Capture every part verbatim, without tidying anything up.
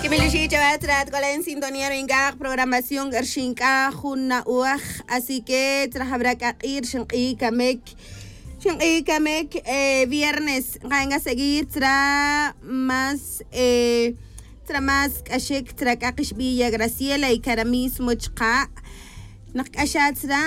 Kimil ixi' chawe tzra tk'ola' en sintonía ri nk'aq' programación rxin k'a jun na'oj. Así que tzra jabra k'a q'i' rxin q'i' kamik, rxin q'i' kamik viernes nqa'n k'a seguir tzra más, tzra más k'axik tzra k'a qixb'i' ya Graciela y kara' mismo chqa' naq k'axa' tzra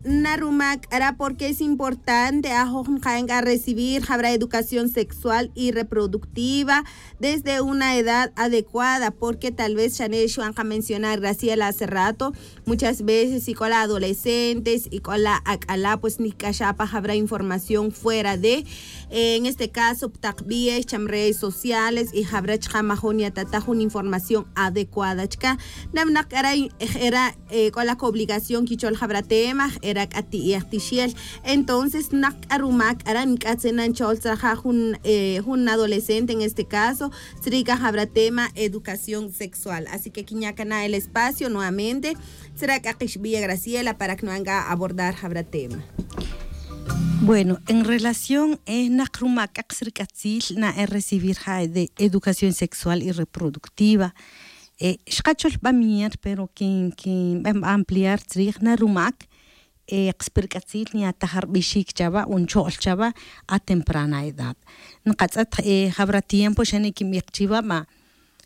na rumak k'ara' porque es importante ajoj nqa'n k'a recibir jabra educación sexual y reproductiva desde una edad adecuada, porque tal vez xane' xban qa mencionar Graciela hace rato, muchas veces ik'ola' adolescentes ik'ola' ak'ala' pues nik'axa' pa jabra información fuera de, en este caso pi taq b'ie' cham redes sociales y jabra chqa' majun yatata jun información adecuada chka. Nab'naq k'ara' jera' k'ola' kobligación kichol jabra tema jera' k'a ti'ej tixel. Entonces naq k'a rumak k'ara' nk'atzin na nchol tzra ja' jun jun adolescente en este caso tzri' k'a jabra tema educación sexual. Así que kinya' kana' el espacio nuevamente tzra' k'a qixb'i' ya Graciela para que nu'an k'a abordar jabra tema. Bueno, en relación naq rumak k'a qas rik'atzil na e recibir ja' de educación sexual y reproductiva. Xqachol b'a mier pero kin kin b'a ampliar tzrij na rumak qas pi rik'atzil nya'taj rb'ixik chawa o ncho'l chawa a temprana edad. Nqatz'et jab'ra tiempo xa nikinb'ij chiwa b'a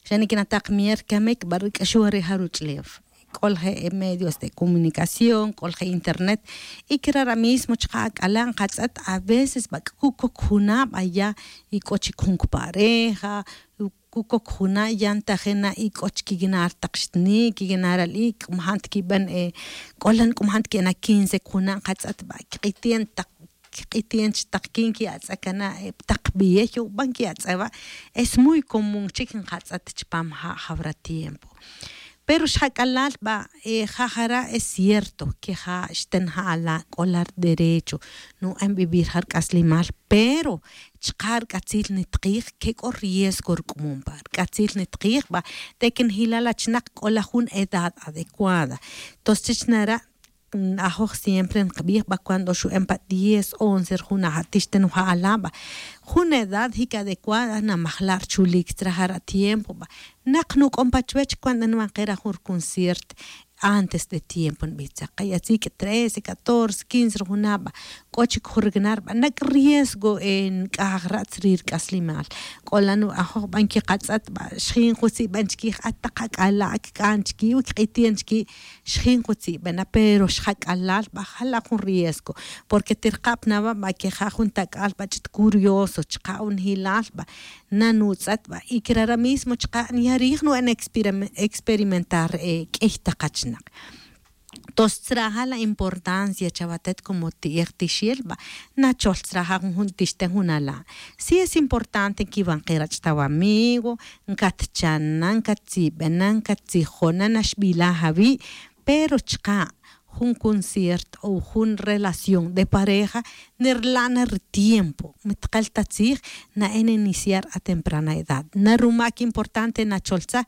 xa nikina'taj mier kamik b'a rik'axon re ja ruch'lew. K'ol je' medios de comunicación k'ol je' internet y kira' ra mismo chaqa' ak'ala' nqatz'et a veces b'a kukok juna' b'a ya y k'o chik jun kipareja kukok juna' ya ntajin na y k'o chik kikina' ri taq xtni' kikina' ri ali' k'o majant kib'an k'olan k'o majant kena' quince kujuna' nqatz'et b'a kiq'iti'en taq kiq'iti'en chi taq kin ki'atz'a kana' pi taq b'ie' yob'an ki'atz'a wa'. Es muy común chik nqatz'et chipam ja' jawra tiempo. Pero xjak'alal b'a ja' jara' es cierto que ja' xten ja' ala' k'ola' rderecho nu'an vivir ja' rk'aslimal pero chaqa' rk'atzil nitqij que k'o riesgo rk'umum pa rk'atzil nitqij b'a te que njilal achnaq k'ola' jun edad adecuada. Tos chich nara' ajoj siempre nqb'ij b'a cuando xu'en pa diez once rjuna' ja' tixten ja' ala' b'a jun edad jik adecuada namajla' rchulik tzra jara' tiempo b'a naq nuk'on pa chuwech cuando nwan qera jun rconcierto antes de tiempo nb'ij tzaq qa yatzik' trece catorce quince rjuna' b'a k'o chik jun rikna' rb'anak riesgo nk'aj ra' tzri' rk'aslimal. K'ola' nu'ajoj b'a nkiqatz'et b'a xjin jutzi' b'a nchkij at taq ak'ala' kk'an chki' o kq'iti'en chki' xjin jutzi' b'a na pero xjak'alal b'a jala' jun riesgo. Porque tirqab' na wa' b'a que ja' jun tak'al b'a ch'it curioso chaqa' o njilal b'a nanutz'et b'a y kirara' mismo chaqa' nyarij nu'en experimentar k'iy taq achnaq. Tos tzraja la importancia chawatet como ti'ej tixel b'a nachol tzraja jun tixten jun ala'. Si es importante nkiwan ke rach' ta wamigo nkatchana nkatzib'ena nkatzijona naxb'ilaj awi'. Pero chaqa' jun concierto o jun relación de pareja nirla' na ritiempo mitqel ta tzij na'en iniciar a temprana edad na rumak importante nacholtzaj.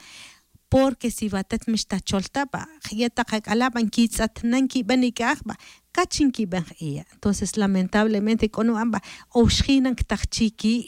Porque si watet mixtachol ta b'a je' taq ak'ala' b'a nkitz'et na nkib'an ik'aj b'a kach nkib'an j'iya'. Entonces lamentablemente k'o nu'an b'a o xjin na nktaj chi ki'